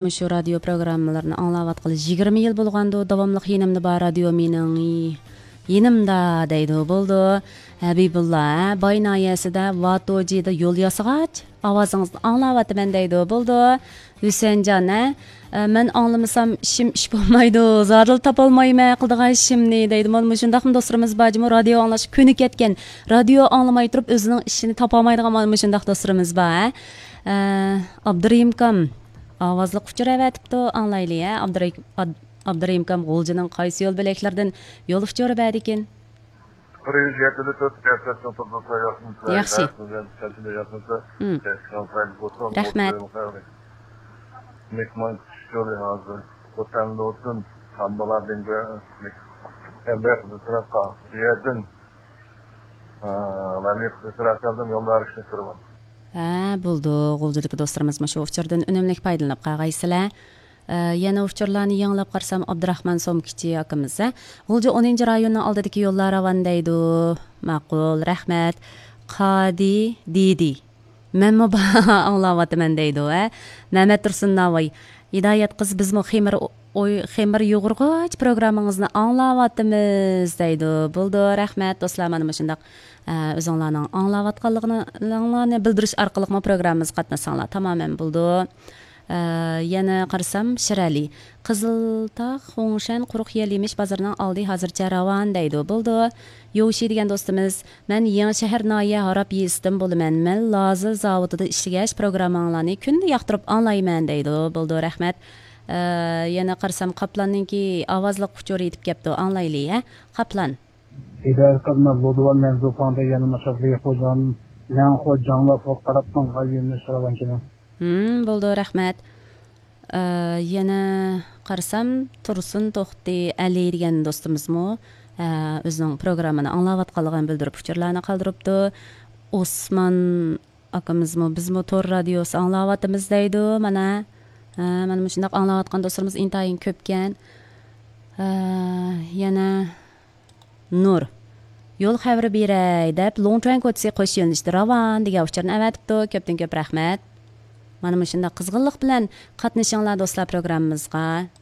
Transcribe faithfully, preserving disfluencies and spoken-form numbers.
مۇشۇ رادىيو پروگراممىلىرىنى ئاڭلاۋاتقىلى يىگىرمە يىل بولغاندۇ، داۋاملىق يېنىمدا بار رادىيو مېنىڭ يېنىمدا دەيدۇ. بولدى. ھەبىبۇللا، ھە، باي ناھىيەسىدە ۋاتوجىدا يول ياسىغاچ ئاۋازىڭىزنى ئاڭلاۋاتىمەن دەيدۇ. بولدى. ھۈسەنجان، ھە، ئە، مەن ئاڭلىمىسام ئىشىم ئىش بولمايدۇ، زادىلا تاپالمايمەن قىلىدىغان ئىشىمنى دەيدۇ. مانا مۇشۇنداقمۇ دوستلىرىمىز بار جۇمۇ، رادىيو ئاڭلاشقا كۆنۈكەتكەن، رادىيو ئاڭلىماي تۇرۇپ ئۆزىنىڭ ئىشىنى تاپالمايدىغان مانا مۇشۇنداق دوستلىرىمىز بار، ھە. ئە، ئابدۇرېھىمكام، ئاۋازلىق ئۇچۇر ئەۋەتىپتۇ، ئاڭلايلى، ھە. ئابدۇرېھىم-، ئاد-، ئابدۇرېھىمكام غۇلجىنىڭ قايسى يول بۆلەكلىرىدىن يول ئۇچۇرى بەردىكىن؟ بىر يۈز يەتتە تۆت، ياخشى. ياخشى. ياخشى. مم. رەھمەت. مېھمان كۈتۈش يولى ھازىر. خوتەندە بولسۇن، ئامبىلادىن ئەمدى بۇ تەرەپقە، بۇ يەردىن، ئە، مەملىكەت تەرەپلەردىن يوللار ئىشلەپ تۇرىمەن. ھە، بولدى. غۇلجىدىكى دوستلىرىمىز مۇشۇ ئۇچۇردىن ئۈنۈملۈك پايدىلىنىپ قالغايسىلەر. ئە، يەنە ئۇچۇرلارنى يېڭىلاپ قارىسام، ئابدۇراخمان سومكىچى ئاكىمىز، ھە، غۇلجا ئونىنچى رايوننىڭ ئالدىدىكى يوللار راۋان دەيدۇ. ماقۇل، رەھمەت. قادى دىدى. مەنمۇ با-، ئاڭلاۋاتىمەن دەيدۇ، ھە. مەمەت تۇرسۇن ناۋاي. ھىدايەت قىز، بىزمۇ خېمىر ئوي-، خېمىر يۇغۇرغۇچ پروگراممىڭىزنى ئاڭلاۋاتىمىز دەيدۇ. بولدى، رەھمەت دوستلار، مانا مۇشۇنداق، ئە، ئۆزۈڭلارنىڭ ئاڭلاۋاتقانلىقىڭلارنى بىلدۈرۈش ئارقىلىقمۇ پروگراممىمىزغا قاتناشساڭلار تامامەن بولدى. ئە، يەنە قارىسام، شىرئەلى. قىزىلتاغ، خۇڭشەن، قۇرۇق يەل يېمىش بازىرىنىڭ ئالدى ھازىرچە راۋان دەيدۇ. بولدى. يوۋشى دېگەن دوستىمىز، مەن يېڭىشەھەر ناھىيە ھاراپ يېزىسىدىن بولىمەن. مەن لازېر زاۋۇتىدا ئىشلىگەچ پروگرامماڭلارنى كۈندە ياقتۇرۇپ ئاڭلايمەن دەيدۇ. بولدى، رەھمەت. ئە، يەنە قارىسام، قاپلاننىڭكى ئاۋازلىق ئۇچۇرى يېتىپ كەپتۇ. ئاڭلايلى، ھە؟ قاپلان. ھىدايەت قىز، مەن لۇدۋان مەنزۇپاڭدا يەنە ماشاقلىق خوجام، مەن خوجاڭلار فوق قاراپتىڭ، غايىنى شىراۋانچىنىڭ. ھىم، بولدى، رەھمەت. ئە، يەنە قارىسام، تۇرسۇن توختى ئەلى دېگەن دوستىمىزمۇ، ئە، ئۆزىنىڭ پروگراممىنى ئاڭلاۋاتقانلىقىنى بىلدۈرۈپ ئۇچۇرلارنى قالدۇرۇپتۇ. ئوسمان ئاكىمىزمۇ، بىزمۇ تور رادىيوسى ئاڭلاۋاتىمىز دەيدۇ. مانا، ئە، مانا مۇشۇنداق ئاڭلاۋاتقان دوستلىرىمىز ئىنتايىن كۆپكەن. ئە، يەنە نۇر. يول خەۋىرى بېرەي دەپ، لوڭچۈەن كوچىسى قوش يۆنىلىشتە راۋان دېگەن ئۇچۇرنى ئەۋەتىپتۇ. كۆپتىن كۆپ رەھمەت. مانا مۇشۇنداق قىزغىنلىق بىلەن قاتنىشىڭلار دوستلار پروگراممىمىزغا.